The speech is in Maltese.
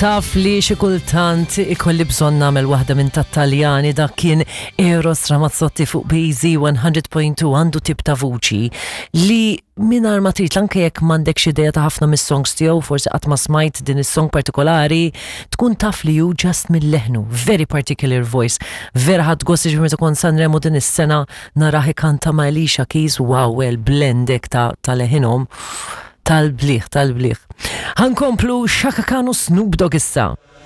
Taf li xi kultant ikolli bżonn nagħmel waħda minn tat-Taljani dak kien Eros Ramazzotti fuq BZ 100.2 għandu tip ta' vuċi li mingħajr ma trid anke jekk m'għandekx idea ta' ħafna mis-songs tiegħu forsi qatt ma smajt din is-song partikolari tkun taf li hu just mill-leħnu, very particular voice. Vera ħadt gost jiġifieri meta kont Sanremo din is-sena narah ikanta ma' Alicia Keys, wow, well blend hekk ta' ta' leħinhom. Tal-bliħ, tal-bliħ. Ħankomplu Chaka Khan u Snoop Dogg issa.